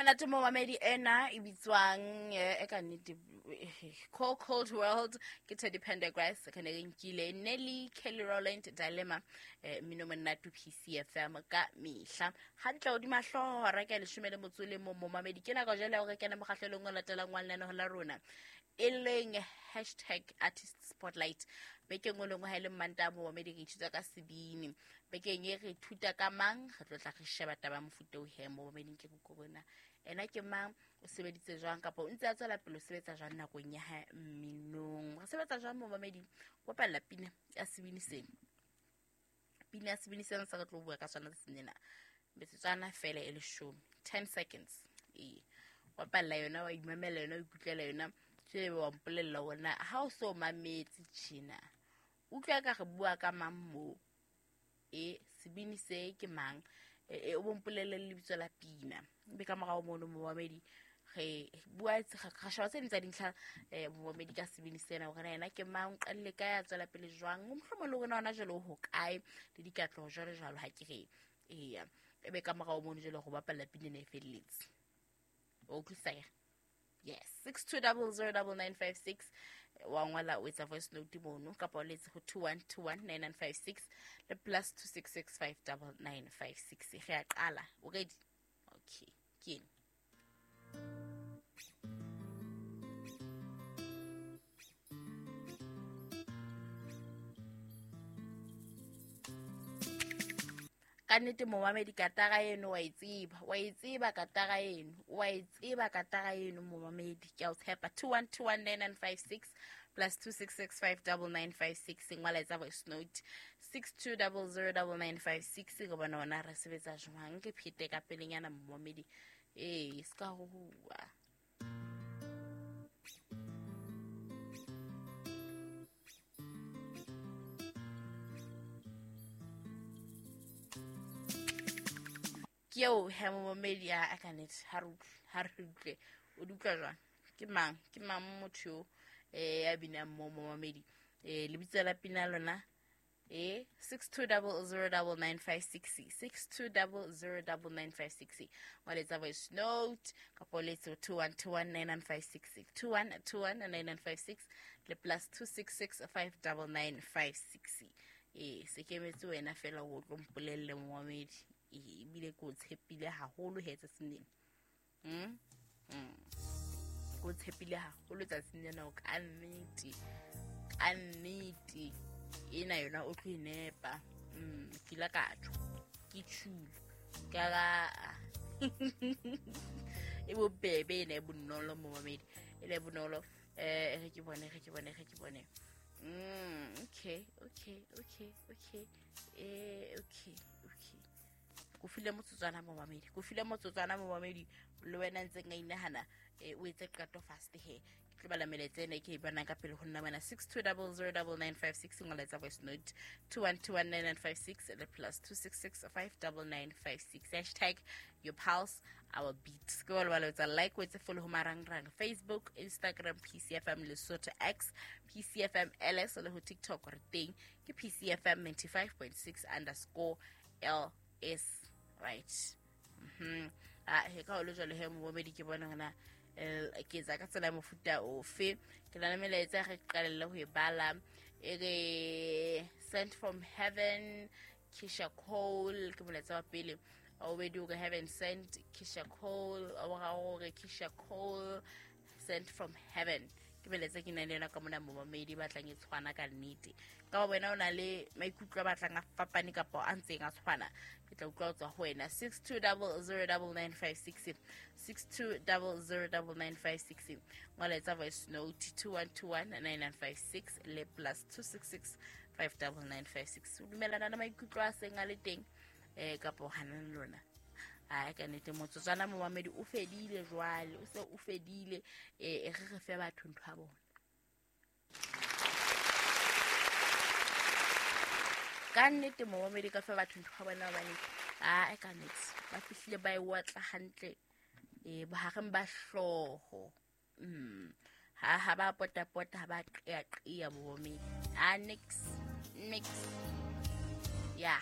Monate momamedi, ena e bitswang e ka nnete Call Cold World ke Teddy Pendergrass. Re ne re nkile Nelly, Kelly Rowland, Dilemma. Mmino monate, PCFM ka mehla hantle hodima hlooho hora ka 11. Momamedi, ke nako jwale ya hore kene mokgahlelong o latelang wa lenaneho la rona, e leng hashtag artist spotlight. Bekeng o lengwe ha e le Mmantaha, momamedi, re ithuta ka sebini. Bekeng e re ithuta ka mang? Re tlo tla re sheba taba ya mofuta o he momameding ke rona ena ke mang, o sebeditse jwang, kapa o ntse a tswela pele o sebetsa jwang nakong ya hae mminong. Re sebetsa jwang, momamedi? Bapalla pina ya sebini seno, pina ya sebini sena se re tlo bua ka sona tsatsing lena, metsotswana fela e 10, 10 seconds. Ee, bapalla yona, wa imamela yona, o ikutlwela yona, ebe wa mpolella ona ha o so mametse tjena, utlwa ka re bua ka mang moo, e sebini se ke mang, o bompolelle le lebitso la pina. Ebe ka morao mono, momamedi, re bua, ra sheba tse ding tsa dintlha, momamedi, ka sebini sena, hore na yena ke mang, o qalile kae, a tswela pele jwang, mohlomong le rona hona jwale o hokae, le dikatleho jwalo jwalo. Ha ke re eya, ebe ka morao mono jwale go bapalla pina ena e felletse, o utlwisisa? Yes, 62009956, wa ngwala, o etsa voice note mono, kapa o letse ho 21219956 le +26659956. Re a qala, o ready? Okay, ke ene. Ka nnete, momamedi, katara eno wa e tseba, wa e tseba katara eno, wa e tseba katara eno, momamedi, ke a o tshepa. 21219956, +26659956, ngwala, etsa voice note, 62009956. Re bona ona re sebetsa jwang. Ke phete ka pelenyana, momamedi, ee, se ka hohuwa. Ke eo he, momamedi, a ka nnete ha re utlwe, ha re utlwe. O di utlwa jwang? Ke mang, ke mang motho yo ya binang mo, momamedi? Lebitso la pina lona, 62009956, 62009956, wa letsa voice note kapa o letse 21219956, 21219956 le +26659956. Se ke emetse wena fela o tlo mpolelle, momamedi. Ebile ke o tshepile haholo he tsatsing lena. Ke o tshepile haholo tsatsing lena, o ka nnete, ka nnete ena yona o tlo e nepa. Ke ile ka tjho, ke tjhulo ka ga e bobebe ena, e bonolo, momamedi, ena e bonolo. Re ke bone, re ke bone, re ke bone. Okay, okay. Ko file motsotswana, momamedi, ko file motsotswana, momamedi, le wena ntseng a inahana, o etse qeto fast he. Ke tlo bala melaetsa ena e ke e bonang ka pele ho nna mana. 62009956, ngola, etsa voice note, 21219956 le +26659956. Hashtag your pulse, our beat. Ke ba lebala etsa like, o etse follow ho marangrang, Facebook, Instagram, PCFM Lesotho, X, PCFM LS, le ho TikTok re teng ke PCFM 95.6_LS, right? Ah, he ka ho le jwalo he, momamedi, ke bona hona ke etsa ka tsela ya mofuta ofe. Ke na le melaetsa, re qalelle ho e bala. E re "Sent from heaven, Kisha Cole", ke molaetsa wa pele. Wa bobedi o re "Heaven sent, Kisha Cole". Wa boraro o re "Kisha Cole, sent from heaven". Ke melaetsa ke nang le yona ka mona, momamedi, batlang e tshwana ka nnete. Ka ba wena o na le maikutlo a batlang a fapane kapa a ntseng a tshwana, ke tla utlwa ho tswa ho wena. 62009956, 62009956, ngola, etsa voice note, 21219956 le +26659956. O dumellana le maikutlo a seng a le teng kapa o hana le lona? Ai, ka nnete motsotswana, momamedi, o fedile jwale, o se o fedile. Re re fe batho ntho ya bona. Ka nnete, momamedi, ka fe batho ntho ya bona, hobane ai, ka nnete ba fihlile ba e otla hantle bohareng ba hlooho. Ha ba pota-pota, ha ba qeaqea, momamedi, a nix nix. Ya,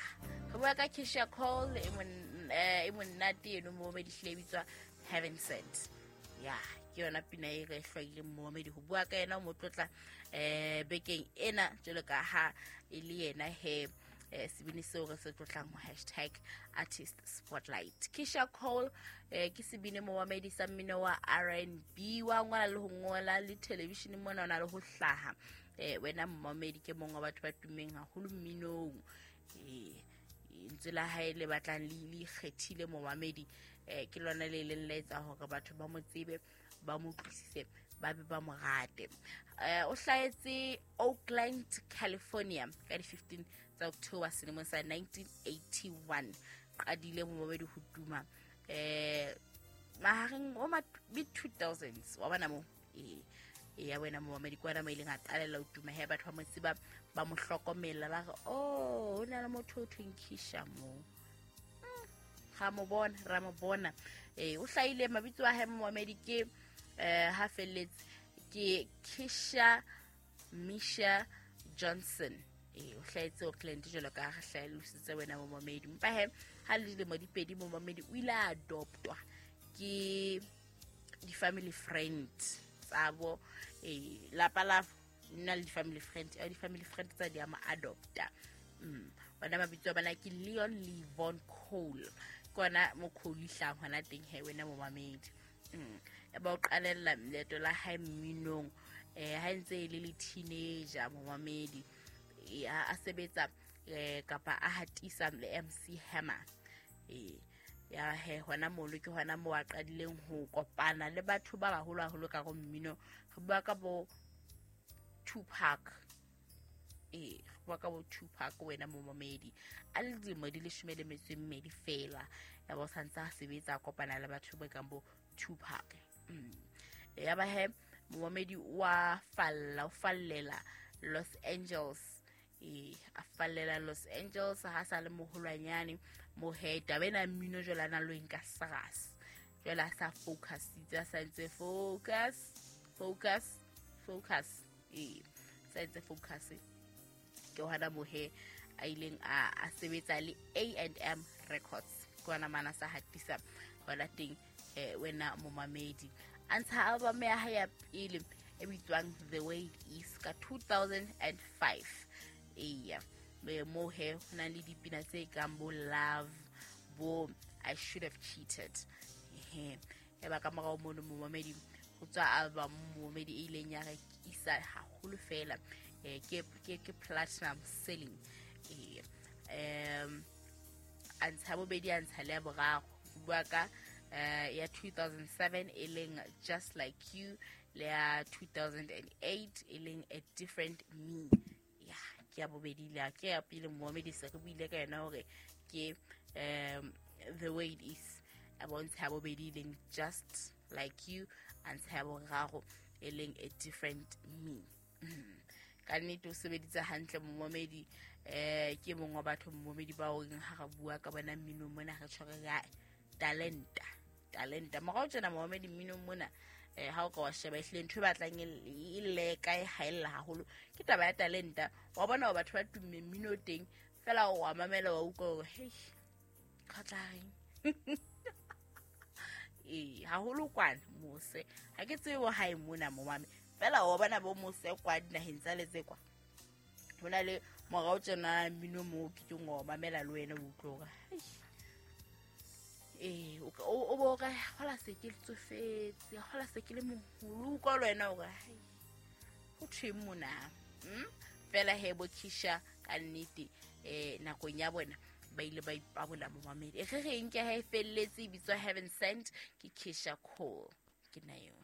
re bua ka Kisha Cole e mon e monate eno momamedi hlile e bitswa Heaven Sent. Ya, ke yona pina e re hlwaileng momamedi ho bua ka yena o mo tlotla bekeng ena jwalo ka ha e le yena he sebini seo re se tlotlang ho hashtag artist spotlight. Keyshia Cole ke sebini momamedi sa mmino wa R&B, wa ngola le ho ngola le television mona o na le ho hlaha. Wena momamedi ke mongwe wa batho ba tummeng haholo mminong. Lentswe la hae le batlang le ikgethile momamedi, ke lona le leng la etsa hore batho ba mo tsebe, ba mo utlwisise, ba be ba mo rate. O hlahetse Oakland, California ka di 15 tsa October selemong sa 1981. Qadile momamedi ho tuma mahareng o mid 2000s wa bona mo ya wena momamedi ke wena mo ileng a qalella ho tuma he batho ba mo tseba, ba mo hlokomela, ba re oh ho na le motho o thweng Keyshia mo. Ra mo bona, ra mo bona. O hlahile mabitso a hae momamedi ke ha felletse ke Keyshia Misha Johnson. O hlahetse Oakland jwalo ka re hlalositse wena momamedi. Empa he ha le dilemo di pedi momamedi o ile a adoptwa ke di-family friend tsabo, lapa la nna le di-family friend, di-family friend tsa di a mo adopta. Bona mabitso a bona ke Leon Levon Cole, ke ona mo Cole hlahang hona teng he wena momamedi. Ya ba o qalella leeto la hae mminong ha ntse e le le teenager momamedi, a sebetsa kapa a hatisa le MC Hammer. Ya he hona mono ke hona mo a qadileng ho kopana le batho ba baholo haholo ka go mmino. Re bua ka bo Tupac, re bua ka bo Tupac wena momamedi, a le dilemo di 12 fela, ya ba o santse a sebetsa a kopana le batho ba kang bo Tupac. Ya ba he momamedi wa falla, o fallela Los Angeles, a fallela Los Angeles ha sa le moholwanyane mo he taba ena mmino jwale a na lo nka serious, jwale a sa focusitse, a sa ntse focus focus focus, sa ntse focus. Ke hona mo he a ileng a sebetsa le A&M Records, ke hona mana sa hatisa hona teng wena momamedi. A ntsha album ya hae ya pele e bitswang The Way It Is ka 2005. Eya, mo he ho na le dipina tse kang bo Love, bo I Should Have Cheated. Ya ba ka morao mono momamedi ho tswa album momamedi e ileng ya rekisa haholo fela, ke platinum selling. A ntsha bobedi, a ntsha le ya boraro, ho bua ka ya 2007 e leng Just Like You, le ya 2008 e leng A Different Me. Ya ke ya bobedi le ke ya pele momamedi se re buile ka yona hore ke The Way It Is, a bontsha ya bobedi e leng Just Like You, a ntsha ya boraro e leng A Different Me. Ka nnete o sebeditse hantle momamedi, ke mongwe wa batho momamedi ba o reng ha re bua ka bona mminong mona re tshware ka talenta, talenta. Morao tjena momamedi mminong mona ha o ka wa sheba ehlile ntho e batlang e leka e haella haholo ke taba ya talenta. Wa bona hore batho ba tumme mmino teng fela wa mamela wa utlwa hore hei ka tla reng. Haholo kwana mose ha ke tsebe hae mona momame fela wa bona bo mose kwa dinaheng tsa letse kwa ho na le morao tjena mmino mo ke teng wa mamela le wena o utlwe hore hei o bo re hola se ke tsofetse, hola se ke le moholo kwa le wena hore hai ho thweng mona. Fela he bo Keyshia ka nnete nakong ya bona ba ile ba ipabola momamedi. E re re nke ha e felletse e bitswa Heaven Sent ke Keyshia Cole, ke na eo.